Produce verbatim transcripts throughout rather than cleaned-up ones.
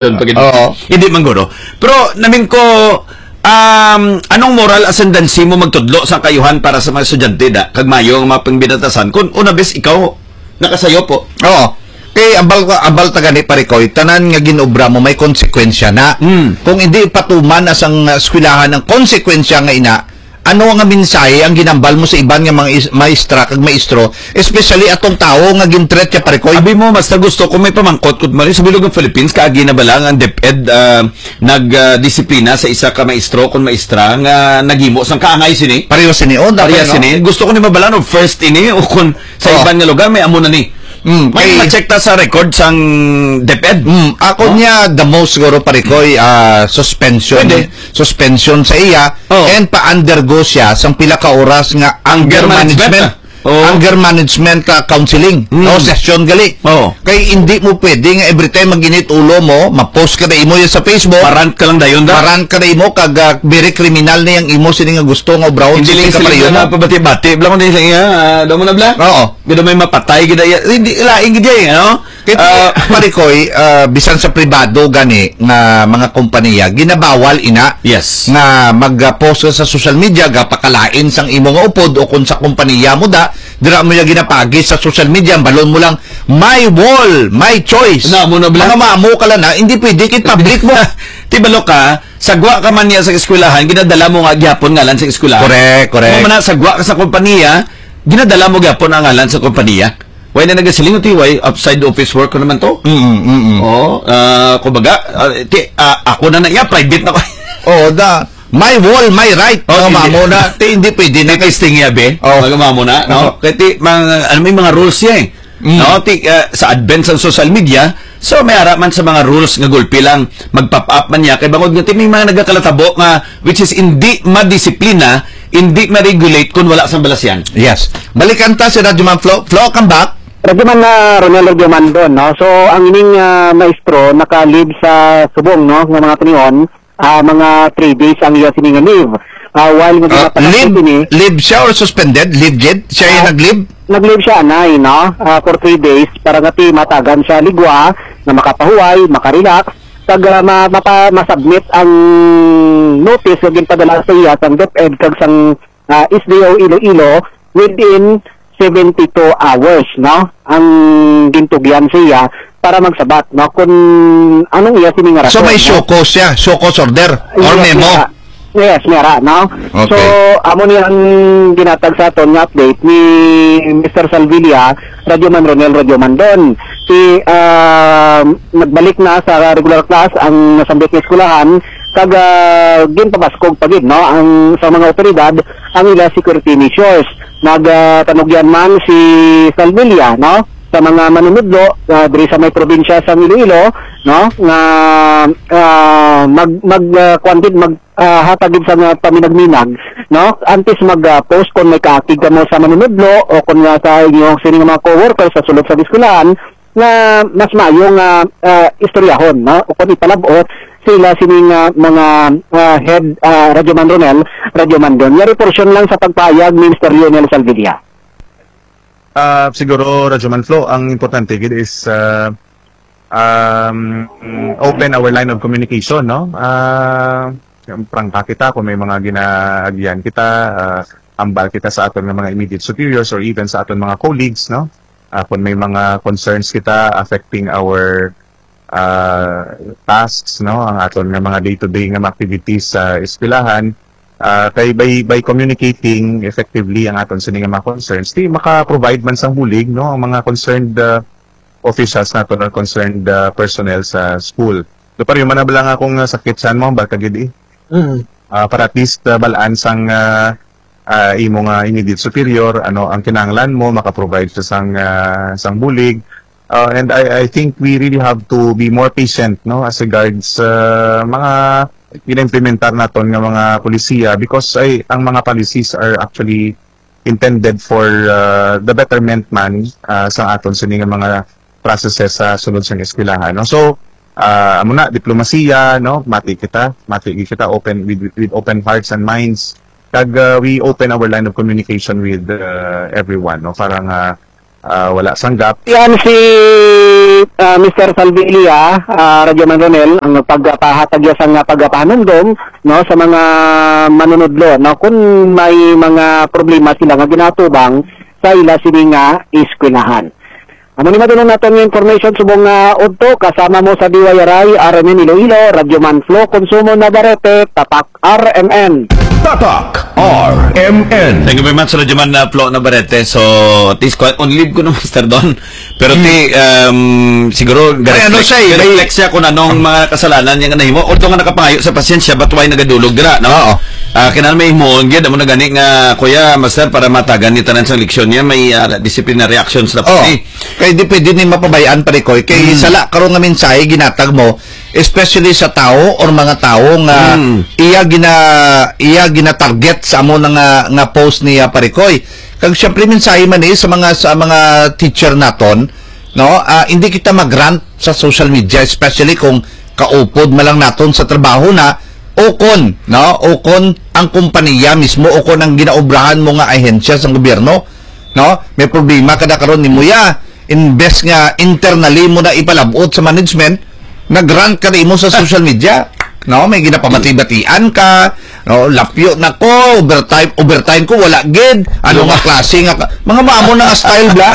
Doon pag Oo. Hindi man guro. Pero namin ko, um, anong moral ascendancy mo magtudlo sa kayuhan para sa mga estudyante da? Kag mayo ang mga pangbinatasan. Kung una bes ikaw, nakasayo po. Oo. Kay ambal ko, ambal ta gani, pare Koy, tanan nga ginobra mo may konsekwensya na. Hmm. Kung hindi patuman na sang, uh, eskwelahan ang konsekwensya nga ina, ano nga mensahe ang ginambal mo sa iban nga mga is-, maestra kag maestro, especially atong tawo nga gin-threat siya, pare Koy? Abi mo, mas gusto ko may pamangkot ko, Mario, sa bilog ng Philippines, kaagi na ba lang ang DepEd, ah, nag, ah, disiplina sa isa ka maestro kung maestra nga naghimo sang kaangay sini? Pareho sini, oh, dapat, Pareho no? sini. Gusto ko ni mabalaan og first ini o kung sa Oh. iban nga lugar may amo na ni. Mm, May kay ma-check ta sa record sang DepEd. Mm, ako Oh. niya, the most siguro, pare Koy, ah, suspension. Pwede. Suspension sa iya, Oh. and pa-undergo siya sang pila ka oras nga Anger anger management, management. ah. Oh. Anger management, ah, counseling. Mm. No, session gali. Oh. Kay hindi mo pwede nga every time mag-init ulo mo, ma-post ka na imo yan sa Facebook. Marant ka lang dayon da. Marant ka na imo, kag, ah, very criminal na yung imo sini nga gusto nga obrahon Hindi sa lang ka sila pareho mo. na pabati-bati. Bla ko din sa iya, ah, daw mo na bla? Oo. Gado may mapatay, gid iya. Hindi, lain gid iya, eh, ano? Kay Ah, pare Koy, ah, bisan sa pribado gani nga mga kompanya, ginabawal ina Yes. nga mag-post ka sa social media, gapakalain sang imo nga upod o kung sa kompanya mo da, dira mo ya ginapagi sa social media, ang balon mo lang, "My wall, my choice." Na, mo na bla? Mga mamo ka lang na, hindi pwede kay public mo. Ti balo ka, sagwa ka man niya sa eskwelahan, ginadala mo nga gyapon ngalan sa eskwelahan. Correct, correct. Mo man na, sagwa ka sa kompanya, ginadala mo gyapon ang ngalan sa kompanya. Why na nagasiling ti, why outside office work ko naman to? Mm, mm, mm. Oh, ah, kumbaga, ah, ti, ah, ako na na, yeah, private na ko. Oo, da. My wall, my right. Oh, Mga hindi. mamo na, ti, hindi pwede na. May testing niya, be? Oh. Mga mamo na, no? Oh. Kaya ti, mga, ano, may mga rules siya eh. Mm. No? Ti, ah, sa advent sa social media, so may ara man sa mga rules nga gulpi lang, mag-pop up man niya. Kay bangod nga ti, may mga nagakalatabo nga, which is hindi madisiplina, hindi ma-regulate kung wala sang balasyan. Yes. Balikan ta si Radyo Man Flo. Flo, come back. Radyo Man, ah, Ronel Radyo Man doon, no? So, ang ining, ah, maestro naka-leave sa subong, no, nga mga tinion, ah, mga three days ang iya sini nga leave. Ah, while nga Ah, ginapatakbo leave, sini, leave siya or suspended? Leave gid? Siya yung Ah, nag-leave? nag-leave siya, anay, no? Ah, for three days para nga ti matagan siya ligwa, nga makapahuway, makarelax, kag, ah, ma-, mapa-, masubmit ang notice nga ginpadala sa iya sang DepEd kag sang, ah, S D O Iloilo within seventy-two hours, no? Ang gintugyan sa iya para magsabat, no? Kung anong iya sini nga So, may rason, no? show cause siya, show cause order, or Yes, memo? mera. Yes, mera, no? Okay. So, amo ni ang ginatag sa aton nga update ni Mister Salvilla, Radyo Man Ronel, Radyo Man Don. Si, ah, nagbalik na sa regular class ang nasambit nga eskwelahan, kag, ah, ginpabaskog pa gid, no, ang, sa mga otoridad ang ila security measures. Nag, ah, tanugyan man si Salvilla, no, sa mga manunudlo, ah, diri sa may probinsya sa Iloilo, no, nga, ah, mag, mag, ah, kuwan gid, mag, ah, hatag gid sa nga paminagminag, no, antes mag, ah, post kung may kaakig kamo sa manunudlo o kung nga sa inyong sini nga mga co-workers sa sulod sa eskwelahan, nga mas maayo nga, ah, istoryahon, no? O kung ipalab-ot sila sini nga mga, ah, head, ah, Radyo Man Ronel, Radyo Man Don. Yari porsyon lang sa pagpahayag ni Mister Lionel Salvilla. Ah, siguro, Radyo Man Flo, ang importante gid is, ah, um, open our line of communication, no? Ah, prangka kita kung may mga ginaagian kita, ah, ambal kita sa aton nga mga immediate superiors or even sa aton mga colleagues, no? Ah, kung may mga concerns kita affecting our, ah, tasks, no, ang aton nga mga day-to-day nga mga activities sa eskwelahan, ah, kay by, by communicating effectively ang aton sini nga mga concerns, di maka-provide man sang bulig, no, ang mga concerned, ah, officials naton or concerned, ah, personnel sa school. Do pareho man na bala nga akong, ah, sakit sa mo, baka gid eh. Mm. Ah, para at least, ah, balaan sang, ah, ah, imo nga immediate superior, ano ang kinahanglan mo, maka-provide siya sang, ah, sang bulig. Ah, and I, I think we really have to be more patient, no, as regards sa mga gina-implementar naton nga mga polisiya, because ay, ang mga policies are actually intended for, ah, the betterment man, ah, sa aton sini nga mga processes sa sulod sang eskwelahan, no? So, ah, amo na, diplomasiya, no? Mati kita, mati gid kita open with, with open hearts and minds. Kag, ah, we open our line of communication with, ah, everyone, no? Para nga, ah, wala sang gap. Yan si ah, Mister Salvilia, ah, Radyo Man Ronel, ang pagpahatag iya sang pagpahanumdom, no, sa mga manunudlo, no, kung may mga problema sila nga ginatubang sa ila sini nga eskwelahan. Amo ni madulong naton nga information subong nga udto, kasama mo sa D Y R I, R M N Iloilo, Radyo Man Flo, Konsumo Navarrete, Tatak R M N. Tatak R M N. Thank you very much, Radyo Man, uh, Flo Navarrete. So, at least, kwa-, on leave ko na, Master Don. Pero ti, um, siguro, May ano ga-reflect, siya eh, may ga-reflect siya kung anong mga kasalanan niya nga nahimo. Although nga nakapangayo sa pasensya, but why nagadulog dira, no? Oo. Ah, kinahanglan may himuon gyud, amo na gani nga, Kuya, Master, para matagan ni tanan sang leksyon niya, may, ah, disciplinary actions na po Oo. eh. Kay di pwede ni mapabayaan, pare ko, eh. Kay Mm. sala karon nga mensahe ginatag mo, especially sa tao or mga tao nga Mm. iya gina-, iya gina-target sa amo na nga, nga post niya, pare ko, eh. Kag siyempre, mensahe man eh sa mga, sa mga teacher naton, no? Ah, hindi kita mag-rant sa social media, especially kung kaupod man lang naton sa trabaho na, o kon, no? O kon ang kompanya mismo, o kon ang ginaobrahan mo nga ahensya sa gobyerno, no? May problema ka na karon nimo ya, imbes nga internally mo na ipalabot sa management, nag-rant ka na imo sa social media, no? May ginapamati-batian ka, no? Lapyo na ko, overtime, overtime ko, wala gid. Ano Ano nga ba? klase nga ka-, mga maamo na nga style, bla?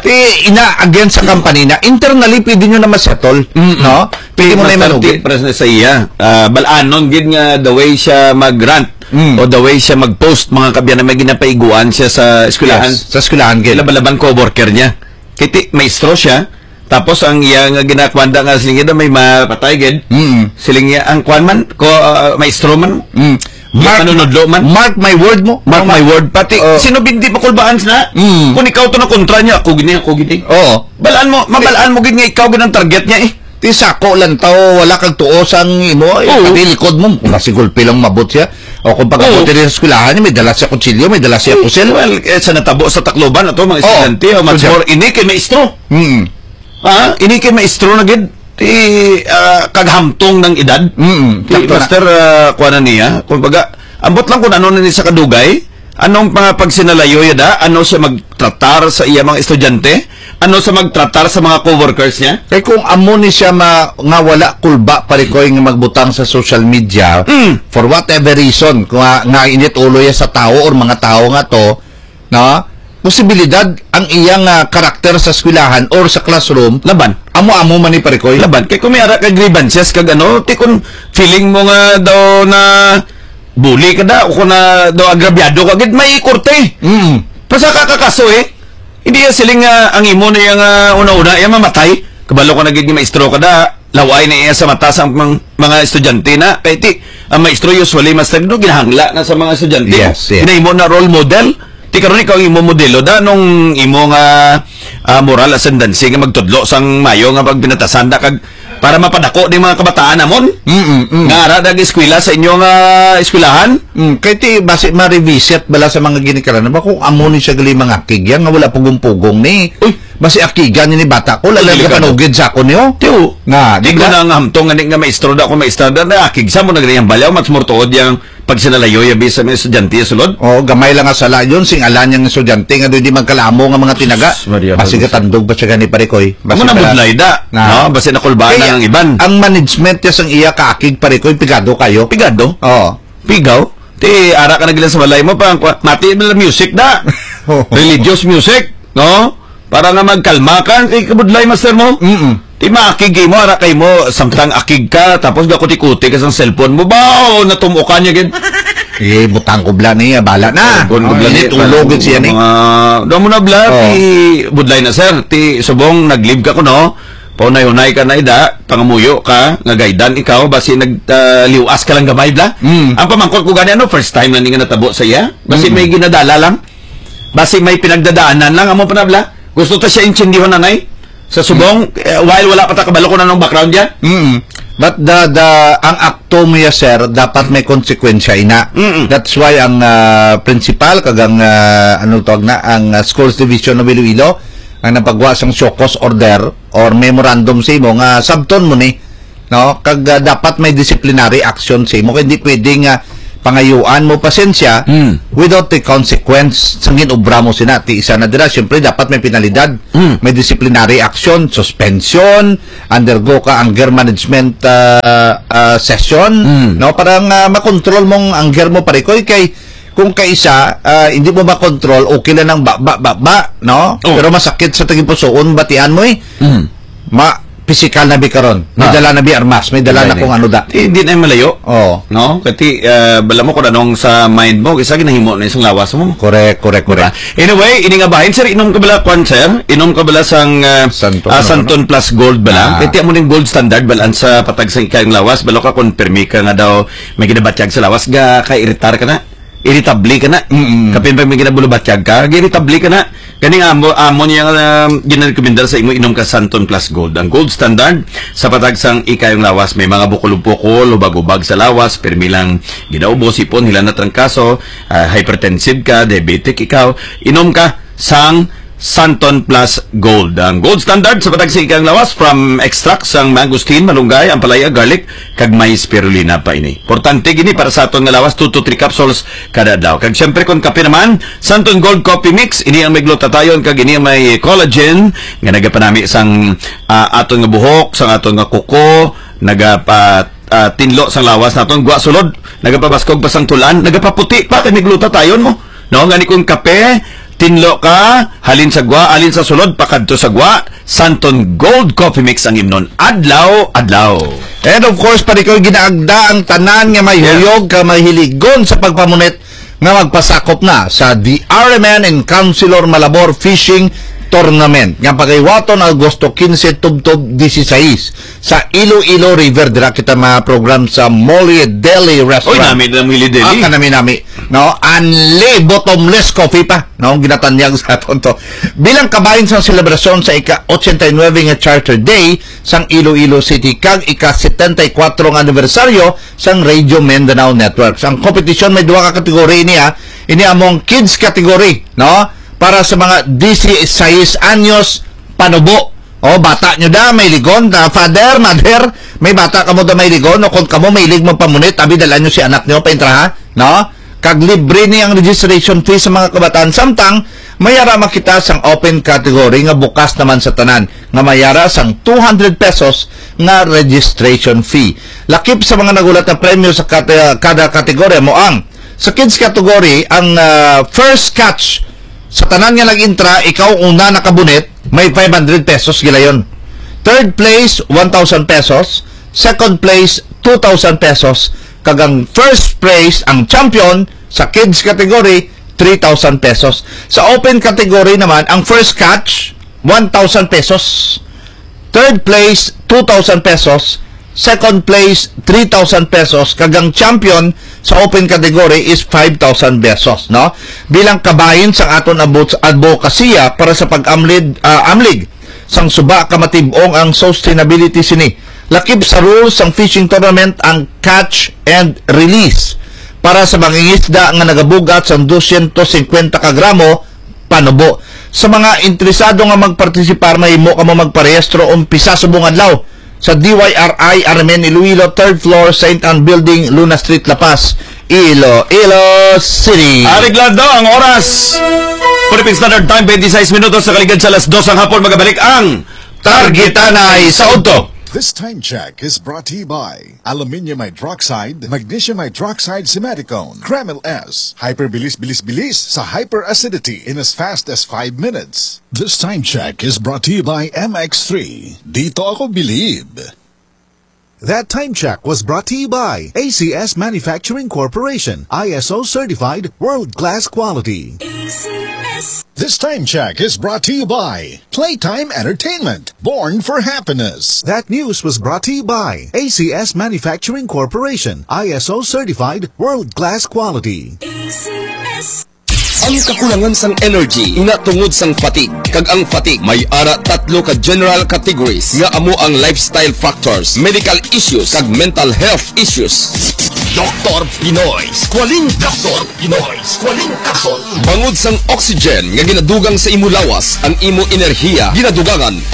Ti, ina, against sa company na, internally, pwede nyo na ma-settle, Mm-mm. no? Pwede Ti mo na Master, imanugi. ti, para sa, sa iya, ah, balanon gid nga the way siya mag-rant Mm. o the way siya mag-post, mga kabyan, na may ginapaiguan siya sa eskwelahan. Yes, sa eskwelahan, gid. Laban-laban co-worker niya. Kay ti, maestro siya. Tapos ang iya nga ginakwanda nga siling niya may mapatay gid. Mm. Siling niya, ang kwan man, ko, ah, maestro man, Mm. Mark, manunudlo man. mark my word mo. Mark Tama. my word. Pati, Oh. sino binti makulbaan na? Mm. Kung ikaw to na kontra niya, ako gini, ako gini. Oo. Balaan mo, mabalaan mo gid nga ikaw gid ang target niya eh. Ti sako lang taw, wala kag tuo sang imo, eh, Oo. pati likod mo, kung si gulpi lang mabot siya. O kung pag-abot Oo. diri sa eskwelahan niya, may dala siya kutsilyo, may dala siya Eh, pusil. well, eh, sa natabo sa Tacloban, ato, mga Oo. estudyante, o, much Estudyante. more, ini kay maestro. Mm. Ha? Ini kay maestro na gid, ti, ah, kaghamtong ng edad. Mm, Ti, sakto na. Master, ah, kuha na niya. Kumbaga, ambot lang kung ano na ni sa kadugay, anong mga pagsinalayo yada, ano siya magtratar sa iya mga estudyante, ano sa magtratar sa mga co-workers niya. Kay kung amo ni siya ma-, nga wala kulba, pare ko, nga magbutang sa social media, Mm. for whatever reason, kung nga, nga init ulo ya sa tao or mga tao nga to, no? Posibilidad ang iyang, ah, karakter sa eskwelahan or sa classroom, Laban. amo-amo man ni, pare ko. Laban. Kay kung may ara ka grievances kag ano, ti kung feeling mo nga daw na bully ka da, o kung na daw agrabyado ka, gid may korte. Mm. Basta ka kakaso eh. Hindi yan siling nga ang imo na yang, ah, una-una, yang mamatay. Kabalo ko na gid nga maestro ka da, laway na iya sa mata sa mga, mga estudyante na. Kay ti, ang maestro usually, master, no, ginahangla na sa mga estudyante. Yes, yes. Ginahimo na role model. Ti karon ikaw ang imo modelo da, nung imo nga, ah, moral ascendancy nga magtudlo sang mayo nga pagpinatasan da kag para mapadako ni mga kabataan namon. Mm, mm. Nga ara nag-eskwela sa inyo nga eskwelahan? Mm, kay ti, basi ma-revisit bala sa mga ginikanan ba kung amo ni siya gali mangakig yan nga wala pugong-pugong ni. Uy. Basi akigan ni bata ko, Uy, lalang ka delikado. Panugid sa ako niyo. Tiyo. Nga, Di di ko ba? na nga hamtong nga ni nga maestro da ako maestra da na akig sa mo nagri ang balyaw, mas mortuod yang pagsinalayo yabi sa mga estudyante sulod. Oh, gamay lang nga sala yun, sing ala niyang estudyante nga doy di magkalamo nga mga tinaga. Sus, Maria Basi Jose. Gatandog pa siya gani, pare ko, eh. Basi Amo na pala budlay da, Na. no? Basi nakulbaan Kaya, na ang iban. ang management niya sang iya kaakig, pare ko, eh, pigado kayo. Pigado? Oo. Pigaw? Ti, ara ka na gila sa balay mo, pa, pa, mati na lang music da. Oo. Religious music, no? Para nga magkalma ka, kay kabudlay, master mo. Mm-mm. Ti maakig mo, ara kay mo, samtang akig ka, tapos gakuti-kuti ka sa cellphone mo, bao, natumukan niya gid. Eh, butang ko bla niya, bala na. Butang ko Oh, bla init niya, ulo gid siya ni. Mga, doon mo na bla, Oh. ti budlay na, sir. Ti subong, nag-leave ka ko, no? Paunay-unay ka na, ida, pangamuyo ka, nga gaidan ikaw, basi nag, ah, liwas ka lang gamay, bla. Mm. Ang pamangkot ko gani, ano, first time na ni nga natabo sa iya? Basi Mm. may ginadala lang. Basi may pinagdadaanan lang, amo pa na, bla. Gusto ta siya intindihon, nanay. Sa subong, Mm. eh, while wala pa ta kabalo kung anong background niya. Mm. But the, the, ang akto mo ya, sir, dapat may konsekwensya ina. Mm-mm. That's why ang, ah, principal, kag ang, ah, ano tawag na, ang, ah, Schools Division of Iloilo, ang napagwa sang show cause order or memorandum sa imo nga sabton mo ni, no? Kag, ah, dapat may disciplinary action sa imo. Kay hindi pwede nga pangayuan mo pasensya, Mm. without the consequence sa ginobra mo sina. Ti isa na dira, siyempre, dapat may penalidad, Mm. may disciplinary action, suspension, undergo ka anger management, ah, ah, session, Mm. no? Para nga makontrol mong anger mo, parikoy, kay kung kaisa, ah, hindi mo makontrol, okay lang ang ba, ba, ba, ba, no? Oh. Pero masakit sa tagipusoon, batian mo eh. Mm. Ma, pisikal na bi karon. May Ah. dala na bi armas, may dala na Pwede. kung ano da. Di, di na malayo. Oo. No? Kati, ah, bala mo kung anong sa mind mo, kisa ginahimo na isang lawas mo. Correct, correct, Diba? correct. Anyway, ini nga bahin, sir, inom ka bala, kwan, sir? Inom ka bala sang, ah, Santon, ah, ano, Santon ano? Plus Gold bala? Ah. Kaya mo ning gold standard, balaan sa patag sa ikang lawas, balo ka kung permi ka nga daw may ginabatyag sa lawas, ga, ka-iritar ka na. Irritable ka na. Mm-mm. Kapin pa may ginabulubatyag ka, irritable ka na. Ganing amo, amo niya nga, um, ginarekomendar sa imo inom ka Santon Plus Gold. Ang gold standard sa patag sang ikayong lawas, may mga bukol-bukol, hubag-hubag sa lawas, pirmi lang ginaubos, sipon, hila na trangkaso, ah, hypertensive ka, diabetic ikaw, inom ka sang Santon Plus Gold. Ang gold standard sa patag sa ikayong lawas, from extract sang mangosteen, malunggay, ampalaya, garlic, kag may spirulina pa ini. Importante gini para sa aton nga lawas, two to three capsules kada adlaw. Kag siyempre, kung kape naman, Santon Gold Coffee Mix, ini ang may glutathione kag ini ang may collagen nga nagapanami sang, ah, aton nga buhok, sang aton nga kuko, nagapa, ah, tinlo sang lawas naton, gwa sulod, nagapabaskog pa sang tulan, nagapaputi pa kay may glutathione mo. No, ngani kung kape, tinlo ka, halin sa gwa, halin sa sulod, pakadto sa gwa, Santon Gold Coffee Mix ang imnon adlaw-adlaw. And of course, pare ko, ginaagda ang tanan nga may Yeah. huyog ka mahiligon sa pagpamunit nga magpasakop na sa the R M N and Councilor Malabor Fishing Tournament nga pagaywaton Agosto quince tubtob dieciséis sa Iloilo River. Dira kita ma-program sa Molly Deli Restaurant. Oy, nami na Molly Deli. Ah, kanami-nami. No, anli bottomless coffee pa, no, ginatanyag sa aton to. Bilang kabahin sang selebrasyon sa ika-ochenta y nuebe nga Charter Day sang Iloilo City kag ika-setenta y kuwatro nga anibersaryo sang Radio Mindanao Networks. Ang kompetisyon may duha ka kategory niya. Ini among kids category, no? Para sa mga dieciséis anyos panubo. O, bata nyo da, may ligon, ah, father, mother, may bata kamo da may ligon, o kung kamo may lig magpamunit, abi, dala nyo si anak nyo, paintraha, no? Kag libre ni ang registration fee sa mga kabataan, samtang mayara makita sang open category nga bukas naman sa tanan, nga mayara sang two hundred pesos nga registration fee. Lakip sa mga nagulat na premyo sa kate-, kada kategorya mo ang, sa kids category, ang, ah, first catch sa tanan nga nag-intra, ikaw una nakabunit, may five hundred pesos gilayon. Third place, one thousand pesos. Second place, two thousand pesos. Kag ang first place, ang champion sa kids category, three thousand pesos. Sa open category naman, ang first catch, one thousand pesos. Third place, two thousand pesos. Second place, three thousand pesos. Kag ang champion sa open category is five thousand pesos, no? Bilang kabahin sang aton abot-, advokasya para sa pag-amlid, ah, amlig sang suba ka matib-ong ang sustainability sini. Lakip sa rules sang fishing tournament ang catch and release para sa mangingisda nga nagabugat sang dosyentos singkwenta ka gramo panubo. Sa mga interesado nga magpartisipar, mahimo kamo magparehistro umpisa subong adlaw sa D Y R I R M N Iloilo, third floor, Saint Ann Building, Luna Street, La Paz, Iloilo City. Areglado ang oras. Philippine Standard Time, twenty-six minutos sa kaligad sa alas dos ang hapon. Magabalik ang Targetanay sa Udto. This time check is brought to you by aluminium hydroxide, magnesium hydroxide simeticone, Kremil S. Hyperbilis, bilis, bilis sa hyperacidity in as fast as five minutes. This time check is brought to you by M X three. Dito ako bilib. That time check was brought to you by A C S Manufacturing Corporation, I S O certified, world-class quality. A C S. This time check is brought to you by Playtime Entertainment, born for happiness. That news was brought to you by A C S Manufacturing Corporation, I S O certified, world-class quality. A C S. Ang kakulangan sang energy, ina tungod sang fatigue. Kag ang fatigue, may ara tatlo ka general categories nga amo ang lifestyle factors, medical issues, kag mental health issues. Doktor Pinoy, Squalene Capsule. Pinoy, Squalene Capsule. Bangod sang oxygen nga ginadugang sa imo lawas, ang imo enerhiya ginadugangan